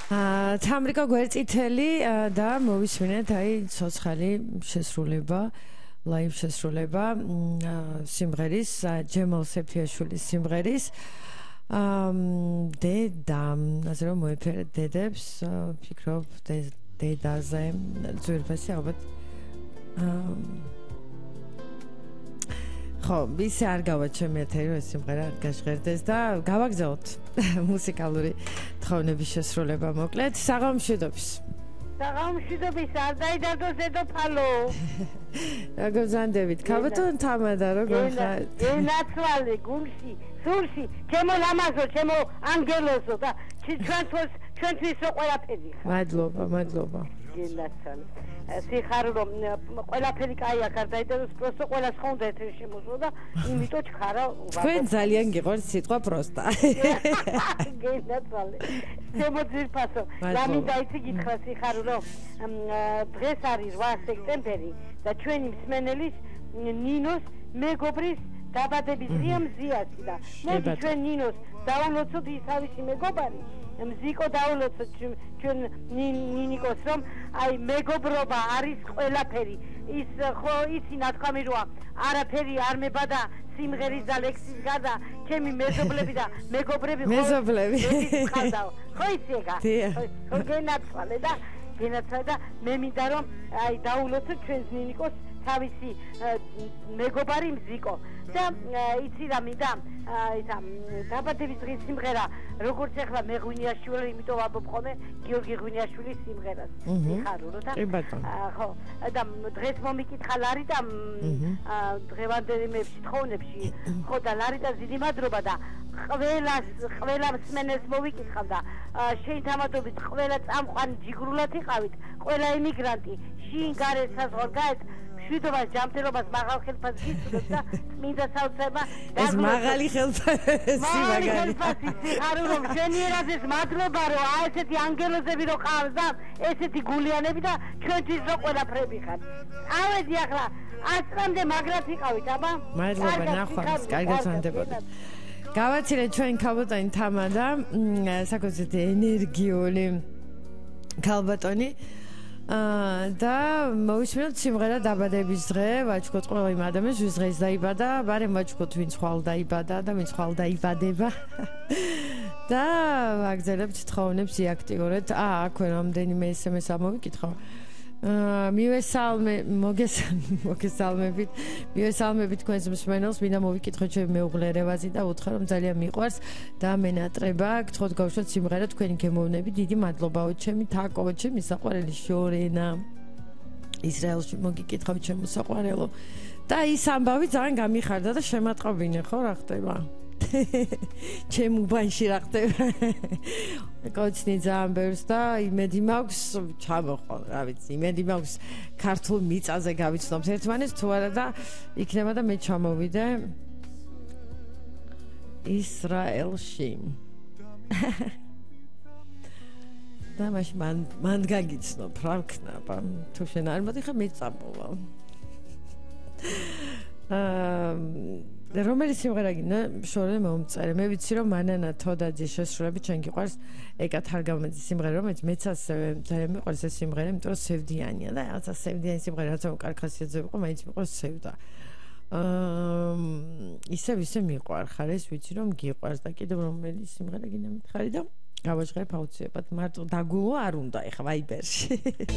თამრიკო გვერწითელი და მოვისმინეთ აი ცოცხალი შესრულება, ლაივ შესრულება სიმღერის ჯემალ სეფიაშვილის სიმღერის დედა, ასე რომ მოეფერეთ დედებს, ფიქრობ დედაზე ძვირფასი ალბათ ხო, ისე არ გავა ჩემი ეთერი, რომ ეს სიმღერა გაჟღერდეს და გავაგზავნოთ მუსიკალური თხოვნების შესრულება მოკლედ. საღამომშვიდობის. საღამომშვიდობის, არ დაიდარდოს დედოფალო. როგორ ზანდებით? ქაბატონ თამადა, როგორ ხარ? ენაცვალე გულში, სულში, ჩემო ლამაზო, ჩემო ანგელოზო და ჩვენთვის რო ყველაფერი ხარ. მადლობა. ენაცვალე. სიხარულო ყველაფერი კაია, გარდაიდაროს პროსტო ყველას ხონდა ეთერი შემოსვა და იმიტომ ჩხარა თქვენ ძალიან გიყვართ სიტყვა პროსტა. ენაცვალე. ჩემო ძირფასო, რამინდა იცი გითხრა სიხარულო, დღეს არის 8 სექტემბერი და ჩვენი მსმენელის ნინოს მეგობრის დაბადების დღეა მზიასი და მოდი ჩვენ ნინოს დავულოცოთ ისავისი მეგობარი მზიკო დავულოცოთ ჩვენ ნინიკოს რომ აი მეგობრობა არის ყველაფერი ის ხო იცი ნათქვამი როა არაფერი არ მებადა სიმღერის და ლექსის გარდა ჩემი მეზობლები და მეგობრები ხო იცი ეგა ხო გენაცვალე და მე მინდა რომ აი დავულოცოთ ჩვენს ნინიკოს თავისი მეგობარი მზიკო და იცი რა მინდა ისა დაბადების დღის სიმღერა როგორც ახლა მე ღვინიაშვილი იმიტომ ვამბობ ხოლმე გიორგი ღვინიაშვილის სიმღერას მიხარულო და ხო და დღეს მომიკითხა ლარიტა დღევანდელი თხოვნებში ხო და ლარიტა დიდი მადლობა და ყველა მსმენელს მოვიკითხავ და შენ თამადობით ყველა წამყვანი ჯიგრულად იყავით ყველა ემიგრანტი შინ გარე საზღვარგარეთ მშვიდობას ჯანმრთელობას მაღალ ხელფასს გისურვებთ და წმინდა საოცრება ეს მაღალი ხელფასი სიხარულო შენიერად ეს მადლობა რომ ესეთი ანგელოზები რო ყავს და ესეთი გულიანები და ჩვენთვის რო ყველაფრები ხართ ავედი ახლა 100 წამდე მაგრად იყავით აბა მადლობა ნახვამდის კარგად ვანდებოდეთ გავაცილეთ ჩვენ ქალბატონი თამადა საკუთრებით ენერგიული ქალბატონი და მოვისმინოთ სიმღერა დაბადების დღე ვაჩქოთ ყველა იმ ადამიანს ვის დღეს დაიბადა ბარემ ვაჩქოთ ვინც ხვალ დაიბადა და ვინც ხვალ დაიბადება და ვაგზავნებთ თხოვნებს იაქტიურეთ აქვე რამდენიმე SMS ამოვიკითხო მოგესალმებით თქვენს მსმენელს მინდა მოვიკითხოთ ჩემი მეუღლე რევაზი და უთხრა რომ ძალიან მიყვარს და მენატრება გთხოვთ გავუშვათ სიმღერა თქვენი გემოვნები დიდი მადლობაო ჩემი თაკო ჩემი საყვარელი შორენა ისრაელში მოგიკითხავთ ჩემო საყვარელო და ის ამბავი ძალიან გამიხარდა და შემატყობინე ხო რა ხდება ჩემ უბანში რა ხდება კოცნი ძალიან ბევრს და იმედი მაქვს ჩამოხვალ რა ვიცი იმედი მაქვს ქართულ მიწაზე გავიცნობთ ერთმანეთს თუ არა და იქნება და მე ჩამოვიდე ისრაელში და მან გაგიცნობ რა ვქნაბა თუ შენ არ მოდიხარ მე წამოვალ რომელი სიმღერა გინდა შორე მომწერე მე ვიცი რომ მანანა თოდაძის შესრულებით ჩვენ გიყვარს ეკა თარგამაძის სიმღერა რომელიც მეც ასევე ძალიან მიყვარს ეს სიმღერა იმიტომ რომ სევდიანია და რაღაცა სევდიანი სიმღერა რაცა კარგ ხასიათზე ვიყო მაინც მიყვარს სევდა ისე მიყვარხარ ეს ვიცი რომ გიყვარს და კიდევ რომელი სიმღერა გინდა მითხარი და გავაჟღერებ აუცილებლად მარტო დაგულო არ უნდა ეხა ვაიბერში